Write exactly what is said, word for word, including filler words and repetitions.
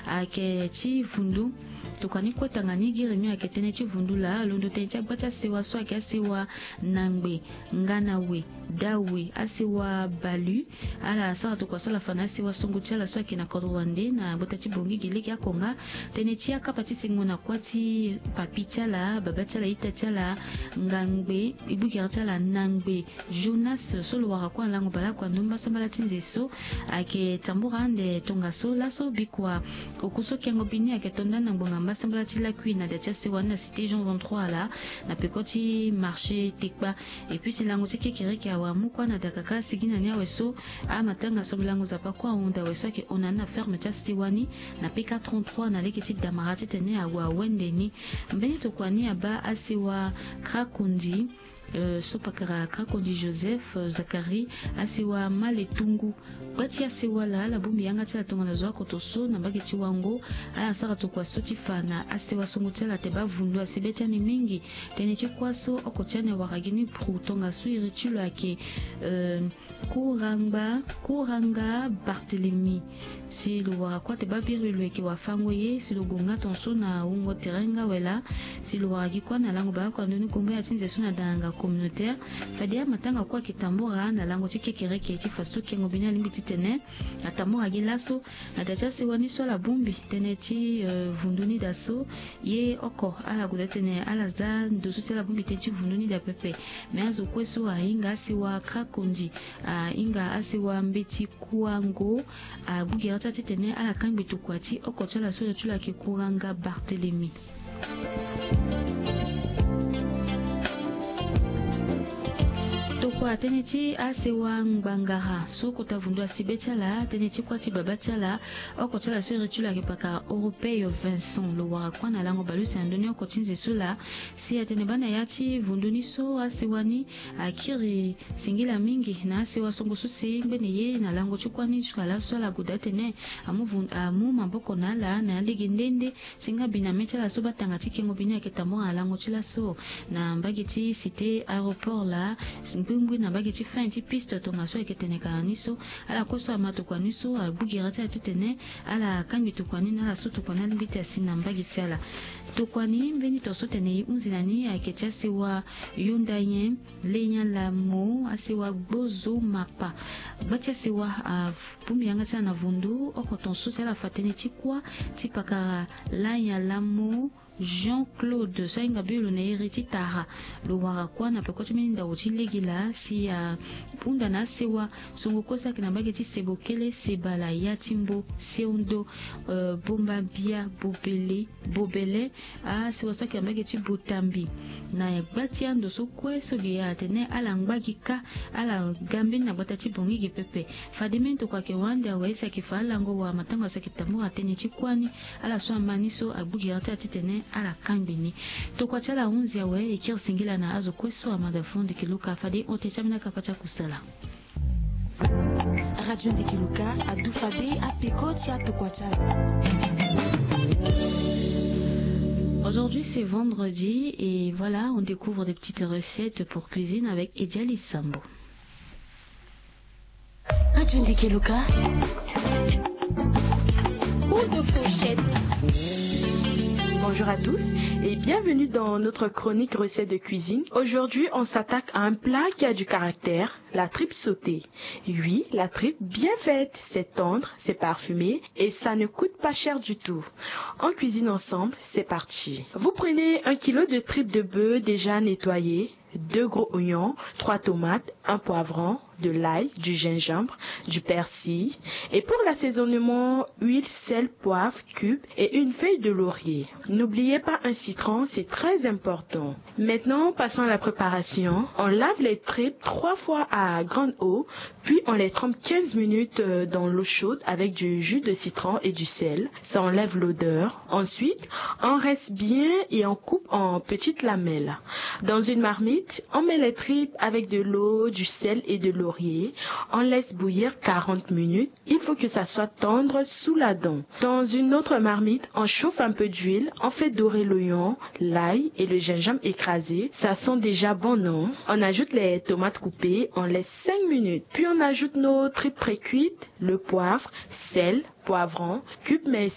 ayeke ti vundu. Tokua ni kue tanga ni gi remi ayeke tënë ti vundu laa, londo tënë ti agba ti asewa so ayeke asewa na ngbe nga na we, dawe, asewa balu. Ala sara tokua so ala fa na asewa songo ti ala so ayeke na kodro wande na gbata ti Bangui gi lege oko nga. Tënë ti akapa ti singo na kuâ ti papi ti ala, baba ti ala, ita ti ala, ngangbe, e gbu gere ti ala na ngbe, Jonas so lo wara kue na lango baleoko na ndö ni mbasambala ti nze so ayeke tambura ande tongaso laso bikua. Oku so kengo bi ni ayeke to nda na ngbonga mbasambala ti lakui na da ti asewa ni na cité Jean vingt-trois laa, na peko ti marché Tekpa. Et puis si lango ti kekereke awara mu kue na da kaka, sigi na ni awe so amatanga so lango Nzapa kue ahunda awe so ayeke hon na ni na ferme ti asewa ni na P K trente-trois na lege ti damara titene ague awende ni. Mbeni tokua ni abaa asewa Krakondi, euh, so pakara Krakondi Joseph, euh, Zacharie, asewa Maletungu. Gba ti asewa laa ala bongbi yanga ti ala tongana zo oko tongaso na mbage ti Wango. Ala sara tokua so ti fa na asewa songo ti ala ate baa vundu asi be ti ani mingi. Tënë ti kuâ so oko ti ani awara gi ni pru tongaso iri ti lo ayeke, euh, Kurangba, Kuranga Barthélemy. Si lo wara kue ate baa biri lo yeke wafango ye, si lo gue nga tongaso na wungo tere nga awe laa. Si lo wara gi kue na lango baleoko na ndö ni gombo ya ti nze so na danganga communautaire. Fade amatanga kue ayeke tambura na lango ti kekereke ti fa so kengo bi ni alingbi titene atambura gi laso. Na da ti asewa ni so ala bongbi tënë ti, euh, vundu ni daa so. Ye oko ala gue daa titene ala za ndo so si ala bongbi tënë ti vundu ni daa pepe. Me azo kue so ahinga asewa Krakondi, ahinga asewa Mbeti Kuango, agbu gere ti ala titene ala kangbi tokua ti oko ti ala so iri ti lo ayeke Kuranga Barthélemy. Tokua tënë ti asewa Ngbangara so kota vundu asi be ti ala, tënë ti kuâ ti baba ti ala, oko ti ala so iri ti lo ayeke pakara Europeo Vincent, lo wara kue na lango baleuse na ndö ni oko ti nze so laa. Si atene baa na ya ti vundu ni so asewa ni akiri singila mingi na asewa songo so si ngbene ye na lango ti kuâ ni jusqu'à laso ala gue daa titene amu vun-, amu maboko na ala na alege nde nde. Si nga bi na mê ti ala so baa tanga ti kengo bi ni ayeke tambura na lango ti laso na mbage ti cité aéroport laa, ngbingbi na mbage ti fin ti piste tongaso ayeke tene ka na ni so. Ala kue so ama tokua ni so agbu gere ti ala titene ala kangbi tokua ni na ala so tokua ni alingbi ti asi na mbage ti ala. Tokua ni mbeni tongaso tene e hunzi na ni ayeke ti asewa Yonda nyen. Lenya lamo, asewa Gbozo Mapa. Gba ti asewa abongbi yanga ti ala na vundu oko tongaso si ala fa tënë ti kuâ ti pakara Lanya Lamo Jean Claude so ahinga be lo na iri ti Tara. Lo wara kuâ na peko ti mbeni ndau ti lege laa si ahunda na asewa songo kue so ayeke na mbage ti Sebokele, Sebala, Yatimbo, Seundo, euh, Bombabia, Bobele, Bobele, asewa so ayeke na mbage ti Botambi. Na gba ti ando so kue so ge atene ala ngba gi kâ, ala ga mbeni na gbata ti Bangui ge pepe. Fade mbeni tokua ayeke wara ande awe si ayeke fa alango wala matango asi ayeke tambura tënë ti kuâ ni. Ala so ama ni so agbu gere ti ala titene ala kangbi ni. Tokua ti ala ahunzi awe, e kiri singila na azo kue so ama da fo ndeke luka fade e hon tënë ti ambeni akapa ti akusala. Radio Ndeke Luka adu fade apeko ti atokua ti ala. Aujourd'hui, c'est vendredi et voilà, on découvre des petites recettes pour cuisine avec Ediali Sambo. Radio Ndeke Luka. Coup de fourchette. Bonjour à tous et bienvenue dans notre chronique recette de cuisine. Aujourd'hui, on s'attaque à un plat qui a du caractère, la tripe sautée. Oui, la tripe bien faite, c'est tendre, c'est parfumé et ça ne coûte pas cher du tout. On cuisine ensemble, c'est parti. Vous prenez un kilo de tripe de bœuf déjà nettoyée, deux gros oignons, trois tomates, un poivron, de l'ail, du gingembre, du persil. Et pour l'assaisonnement, huile, sel, poivre, cube et une feuille de laurier. N'oubliez pas un citron, c'est très important. Maintenant, passons à la préparation. On lave les tripes trois fois à grande eau, puis on les trempe quinze minutes, euh, dans l'eau chaude avec du jus de citron et du sel. Ça enlève l'odeur. Ensuite, on rince bien et on coupe en petites lamelles. Dans une marmite, on met les tripes avec de l'eau, du sel et de laurier. On laisse bouillir quarante minutes. Il faut que ça soit tendre sous la dent. Dans une autre marmite, on chauffe un peu d'huile, on fait dorer l'oignon, l'ail et le gingembre écrasé. Ça sent déjà bon, non ? On ajoute les tomates coupées, on laisse cinq minutes. Puis on ajoute nos tripes précuites, le poivre, sel, poivron, cube mais